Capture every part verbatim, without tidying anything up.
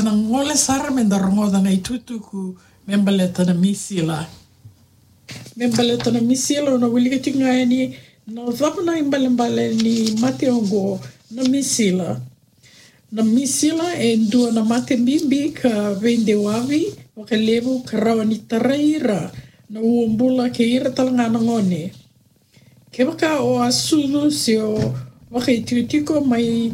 Na gole sara me da rogoca na itukutuku me baleta na misila. Me baleta na misila, au na wilika tiko ga yani na cava na ibalebale ni mate oqo, na misila. Na misila e dua na mate bibi ka veidewavi vakalevu ka rawa ni tarai ira na uabula kei ira tale ga na gone. Kevaka o a sucu se o vakaitikotiko mai,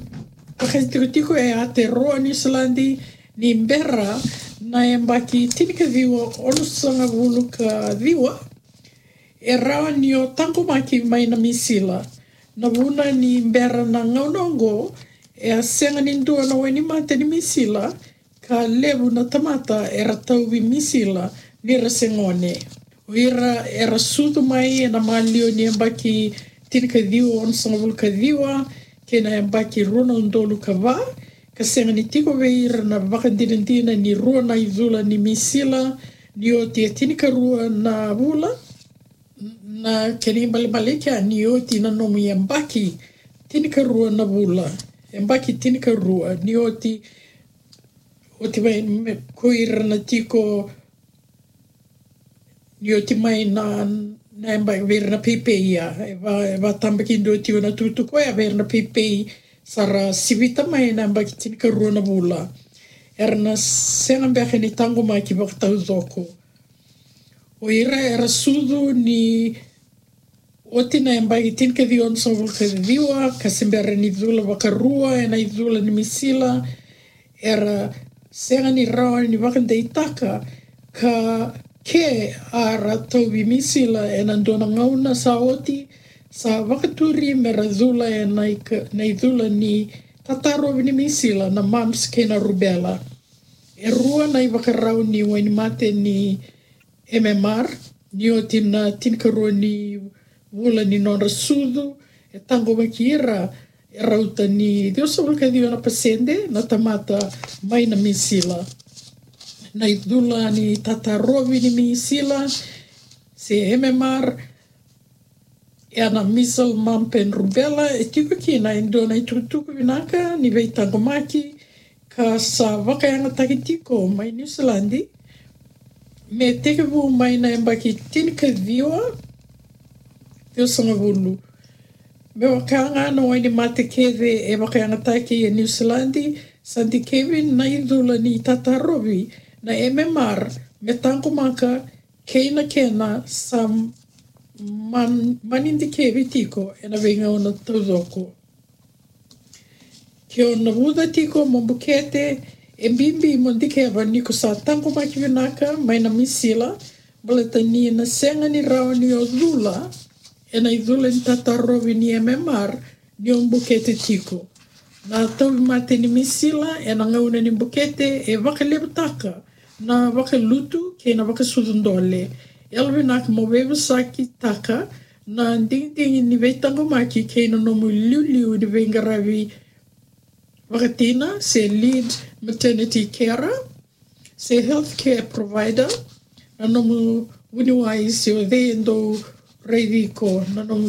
vakaitikotiko e a te rua Niu Siladi ni bera na yabaki tinikaciwa onosagavulu ka ciwa, e rawa ni o taqomaki mai na misila. Na vuna ni bera na gauna oqo, e a sega ni dua na wainimate ni misila, ka levu na tamata era tauvi misila ni ra se gone. O ira era sucu mai ena maliwa ni yabaki tinikaciwa onosagavulu ka ciwa kei na yabaki rua na udolu ka va, ka sega ni tiko vei ira na vakadinadina ni rua na icula ni misila ni oti e tinikarua na vula. Na kena ibalebale kea ni oti na nomu yabaki tinikarua na vula, yabaki tinikarua ni oti, oti mai me ko ira na tiko ni oti mai na, na yabaki vei ira na peipei, ia e va, e vatabakidua tiko na tukutuku oya vei ira na peipei sa ra sivita mai na yabaki tinikarua na vula. Era na sega beka ni taqomaki vakataucoko. O ira era sucu ni oti na yabaki tinikaciwa onosagavulu ka ciwa ka se bera ni cula vakarua ena icula ni misila, era sega ni rawa ni vakadeitaka ka ke a ra tauvi misila ena dua na gauna sa oti, sa vakaturi me ra cula ena ika, na icula ni tatarovi ni misila, na mumps kei na rubella. E rua na ivakarau ni wainimate ni M M R, ni oti na tinikarua ni vula ni nodra sucu, e taqomaki ira, e rauta ni ciwasagavulu ka ciwa na pasede na tamata mai na misila. Na icula ni tatarovi ni misila, se M M R, ia na measles, mumps and rubella, e tiko kina e dua na itukutuku vinaka ni veitaqomaki ka sa vakayagataki tiko mai Niu Siladi me tekivu mai na yabaki tinikaciwa, ciwasagavulu. Me vaka ga na wainimate kece e vakayagataki e Niu Siladi, sa dikevi na icula ni tatarovi na M M R me taqomaka kei na kena sa man, mani dikevi tiko ena veigauna taucoko. Ke o navuca tiko mo bukete, e bibi mo dikeva ni ko sa taqomaki vinaka mai na misila, baleta ni na sega ni rawa ni o cula ena icula ni tatarovi ni M M R ni o bukete tiko. Na tauvimate ni misila ena gauna ni bukete e vakalevutaka na vakalutu kei na vakasucu dole. Yalovinaka mo veivosakitaka na digidigi ni veitaqomaki kei na nomu iliuliu ni veiqaravi vakatina se lead maternity carer se healthcare provider, na nomu vuniwai se o cei e dau raici iko, na nomu